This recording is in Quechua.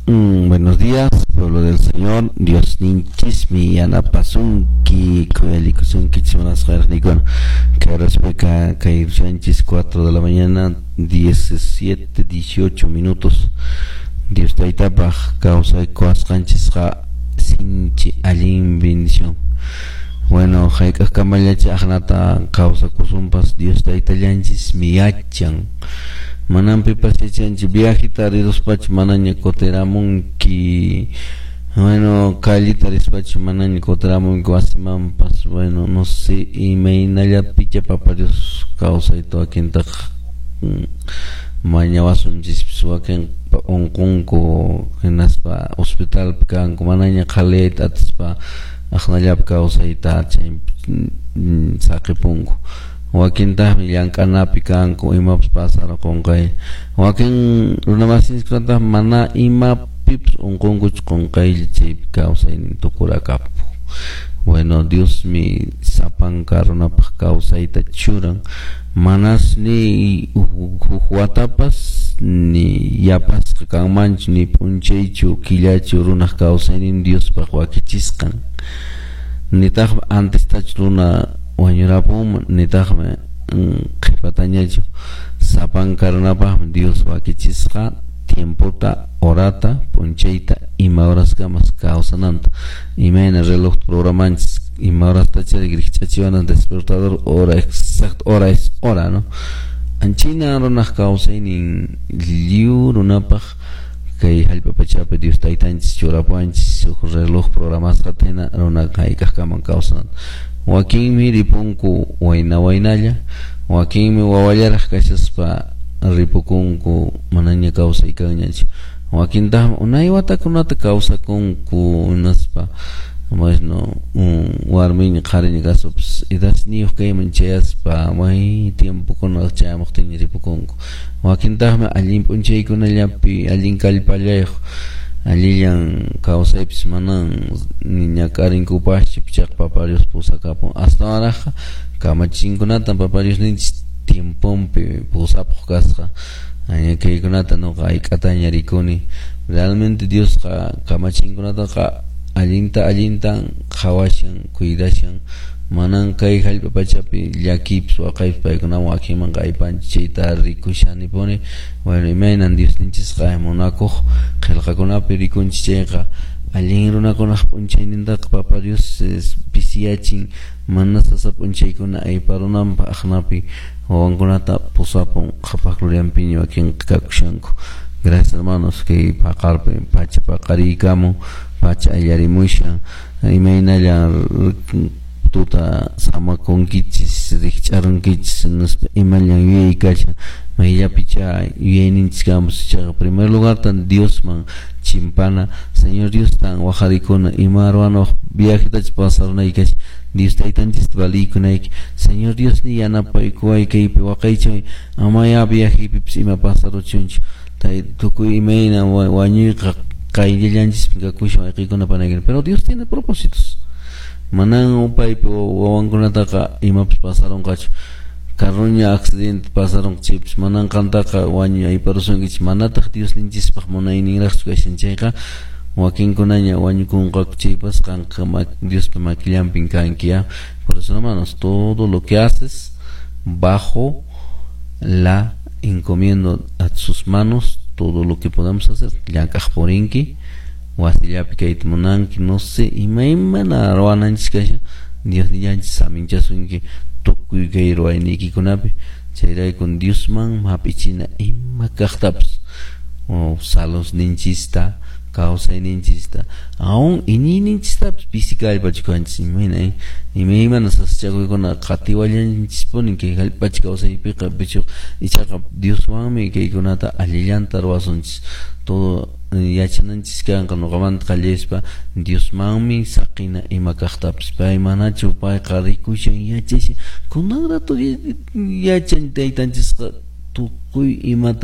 Buenos días, pueblo del Señor. Diosninchismi yanapasunki, khuyalikusunkichis munasqaykunikuna. Kay raspika kay rushanchis 4 de la mañana, 17, 18 minutos. Dios taytapaq kawsaykuwasqanchisqa sinchi allin bendición. Bueno, hayk'aqkamallacha aqnata kawsakusunpas Dios taytallanchismi yachan. Manan pipas yachanchu viajeta riruspachu manaña kutiramunki. Bueno, callita rispachu manaña kutiramunki wasimanpas. Bueno, no sé, imaynallapicha Papa Dios kawsayta wakintaqa mañawasunchispis, wakin unqunku hinaspa hospitalpi kanku manaña qhaliyayta atispa aqnallapi kawsayta chay saqipunku. Wakintaqmi llank'anapi kanku imapas pasarqunqay. Wakin runamasinchikkunataq mana imapipas unqunkuchu qunqaylla chaypi kawsaynin tukurakapu. Bueno, Diosmi sapanka runapaq kawsayta churan. Manas ni huk watapas ni yapasqa kanmanchu ni p'unchaychu killachu runaq kawsaynin Diospaq wakichisqan. Nitaqmi antestachu runa wañurapunman nitaqmi qhipatañachu. Sapanka runapaqmi Dios wakichisqa tiempota, horata, p'unchayta, ima horaskamas kawsananta. Imayna reloj programanchis ima horastachari rikch'achiwana despertador hora exacto, hora es hora, ¿no? Anchina runaq kawsaynin lliw runapaq kay hallp'a pachapi Dios taytanchis churapuwanchis huk reloj programasqata hina runaqa hayk'aqkaman kawsananta. Wakinmi ripunku wayna waynalla, wakinmi wawallaraq kashaspa ripukunku manaña kawsay kanñachu. Wakintaqmi unay watakunata kawsakunku hinaspa bueno, warmiña qhariña kaspapas edadniyuq kayman chayaspa may tiempokuna chayamuqtinña ripukunku. Wakintaqmi allin p'unchaykunallapi allin kallpallayuq allillan kawsaypis manan ñak'arinkupaschu pichaqa Papa Dios pusakapun. Astawanraqqa kamachinkunatan Papa Diosninchis tiemponpi pusapuq kasqa. Kaykunata nuqa hayk'ataña rikuni. Realmente Diosqa kamachinkunataqa allinta allintan qhawashan, cuidashan. Manan kay hallp'a pachapi llakipis waqaypis paykunawan wakinmanqa aypanchis chayta rikushanipuni. Bueno, imaynan Diosninchisqa munakuq qillqakunapi rikunchis chayqa allin runakunaq p'unchaynintaqa Papa Dios pisiyachin mana sasa p'unchaykuna ayparunanpaq aqnapi wawankunata pusapun qhapaq glorianpiña wakinqa kakushanku. Gracias, hermanos, kay paqarpi pacha paqariykamun, pacha allarimushan, imaynalla tuta samakunkichis, rikch'arunkichis, nispa imallan yuyay kashan, mayllapicha yuyayninchis kanpas. Chayqa primer lugarta Diosman chimpana, Señor Dios tan wajarikuna ima ruwanawaq viajetachus pasarunayki kashan, Dios taytanchista valiykunayki, Señor Dios ni yanapaykuway kaypi waqaychay, amaya viajepipis ima pasaruchunchu. Tukuy imayna wañuyqa qayllallanchispi kakushan wayqiykuna panaykuna. Pero Dios tiene propósitos. Manan paypi wawankunataqa imapas pasarunqachu. Carroña accidente pasarunqa chaypis manan qantaqa wañuy ayparusunkichis. Manataq Diosninchispaq munayninraqchu kashan chayqa wakinkunaña wañukunqaku chaypas qanqa Diospa makillanpin kanki, ¿ya? Por eso, hermanos, todo lo que haces bajo la encomiendo a sus manos todo lo que podamos hacer. Llank'aq purinki, wasillapi kayta munanki, no sé, imaymana ruwananchis kashan, Diosnillanchis saminchasunki tukuy kay ruwayniykikunapi. Chayraykun Diosman hap'ichina ima kaqtapas, salosninchista, kawsayninchista, aún iñiyninchistapas pisi kallpachu kanchis imayna, imaymana sasachakuykuna qatiwallanchispuni kay hallp'acha kawsaypiqa pichuq ichaqa Dioswanmi kaykunata allillanta ruwasunchis. Todo yachananchis kanqa nuqamanta qallayaspa Diosmanmi saqina ima kaqtapas. Pay manachu payqa rikushan yachashan kunan rato yachan taytanchisqa tukuy imata.